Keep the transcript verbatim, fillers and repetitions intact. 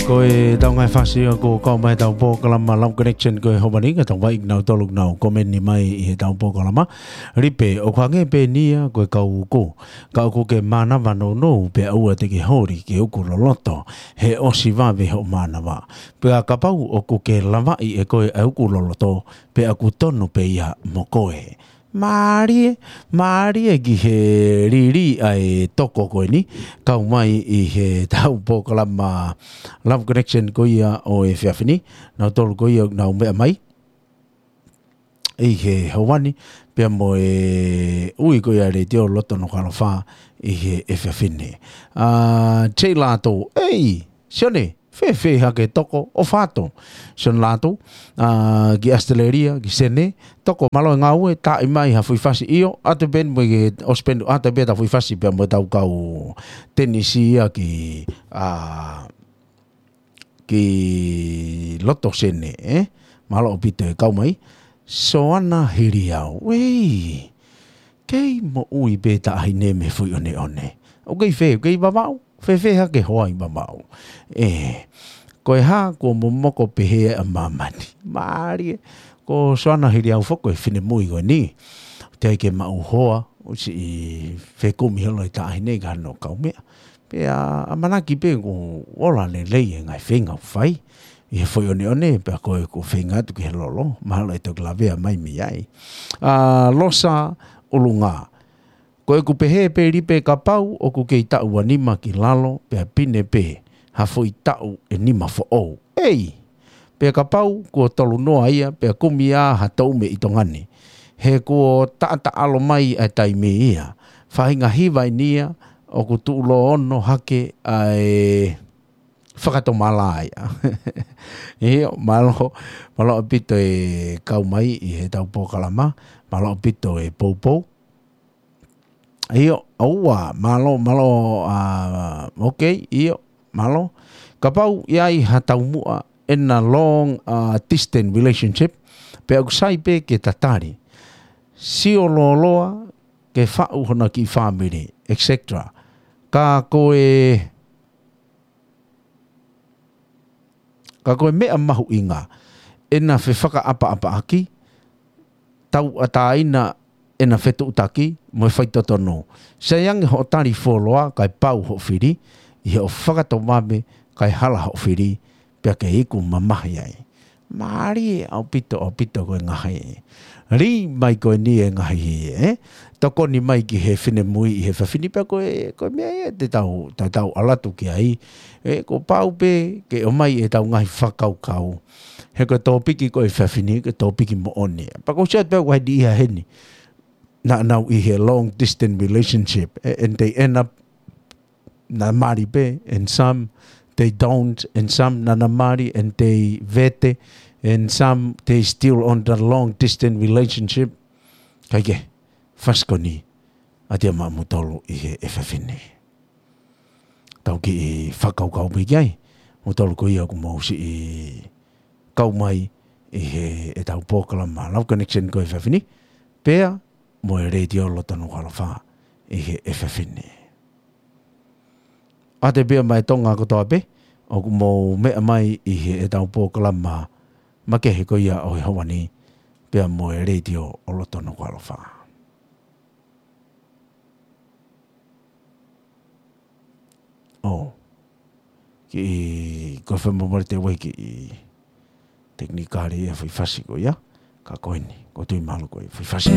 Ko e tau ngaahi fasi ia ko e kau mai ʻetau polokalama Love Connection ko e ʻaho ni, ka tau vakai kinautolu ʻoku nau komeni mai ʻi heʻetau polokalama. Lipe, ʻoku hangē pē eni ia ko e kau uku. Ka ʻoku ke mānava nounou pea ʻoua te ke holi ke uku loloto, he ʻosi vave hoʻo mānava. Pea kapau ʻoku ke lavaʻi ʻe koe ʻa e uku loloto, pea ʻoku tonu pē ia mo koe. Mālie, mālie ki he lili ʻa e toko ko eni, kau mai ʻi heʻetau polokalama Love Connection ko ia ʻo e efiafi ni, nautolu ko ia ʻoku nau meʻa mai ʻi he ʻaho ni, pea mo e ui ko ia ʻa e Letiō Loto Nukuʻalofa ʻi he efiafi ni. ʻA, Jay Lato, ei, Sione, fēfē hake toko, ʻofa atu. Sione Lato, ʻa, ki ʻAositelēlia, ki Sene, toko mālō e ngāue, taaʻi mai ha foʻi fasi ʻio, ʻoatu pē mo e ʻosi pē ʻoatu pē ʻetau foʻi fasi pea mo ʻetau kau tenisi ia ki, ʻa, ki loto Sene, ē? Mālō ʻaupito e kau mai. Soana Hiliau. Ei, kei moʻui pē taʻahine mei he foʻi ʻoneʻone. ʻOku kei fē, ʻoku kei Vavaʻu, fēfē hake hoa ʻi Vavaʻu. Ē, ko e hā, kuo momoko pehē ʻa māmani. Mālie, ko Soana Hiliau foki ko e finemui ko eni. Teʻeki ke maʻu hoa, ʻosi fekumi holo e taʻahine ka no kau meʻa. Pea ʻamanaki pē kuo ola lelei e ngaahi feinga ʻoku fai. ʻI he foʻi ʻoneʻone, pea ko e kuo feinga atu ki he lolo, mahalo ʻe toki lavea mai mei ai. ʻA, Losa ʻUlungā. Ko ʻeku pehē pē Lipe kapau ʻoku kei taʻu ʻe nima ki lalo, pea pine pē ha foʻi taʻu ʻe nima foʻou. Ei! Pea kapau kuo tolu noa ia, pea kumi ā ha toume ʻi Tonga ni. He kuo taʻataʻalo mai ʻa e taimi ia. Faʻahinga hiva eni ia, ʻoku tuʻuloa ono hake ʻa e fakatomala ia. ʻIo, mālō, mālō ʻaupito e kau mai ʻi heʻetau polokalama, mālō ʻaupito e poupou. ʻIo, ʻoua, mālō, mālō, ʻa, ok, ʻio, mālō. Kapau ʻe ʻi ai ha taumuʻa ʻena long, ʻa, distance relationship, pea ʻoku sai pē ke tatali. Sio lōloa, ke faʻu hona kiʻi fāmili, et cetera. Ka ko e Ka ko e meʻa mahuʻinga, ʻena fefakaʻapaʻapaʻaki, tauʻatāina ʻena fetuʻutaki, mo e faitotonu. Sai ange hoʻo tali fuoloa, kae pau hoʻo fili, ʻi hoʻo fakatomala, kae hala hoʻo fili, pea ke iku mamahi ai. Mālie ʻaupito, ʻaupito ko e ngaahi. Lī mai ko eni e ngaahi, ē? Tokoni mai ki he finemui ʻi he efiafi ni pea ko e, ko e meʻa ia te tau, te tau ʻalu atu ki ai. Ē, kuo pau pē ke ʻomai ʻetau ngaahi fakakaukau. He ko e tōpiki ko e efiafi ni, ko e tōpiki moʻoni. Pea ʻoku ou sio atu pē ʻoku ʻi ai e niʻihi heni. Naʻa nau ʻi he long distance relationship. Ē, and they end up naʻa na mali pē, and some they don't, and some naʻa na mali, and they vete, and some they still on the long distance relationship. Kae kehe, fasi ko eni, ʻa ia maʻa mutolu ʻi he efiafi ni. Tau kiʻi fakakaukau pē ki ai, mutolu ko ia ʻoku mou siʻi kau mai ʻi heʻetau polokalama Love Connection ko e efiafi ni, pea mo e Letiō Loto Nukuʻalofa ʻi he efiafi ni. ʻA e pea mo e Tonga kotoa pē, ʻoku mou meʻa mai ʻi heʻetau polokalama makehe ko ia ʻo e ʻaho ni, pea mo e Letiō Loto Nukuʻalofa. ʻO. Kiʻi, ko e fai mo mare te wai kiʻi tekinikale ia foʻi fasi ko ia. Ka ko eni, ko e tui mālō ko e foʻi fasi.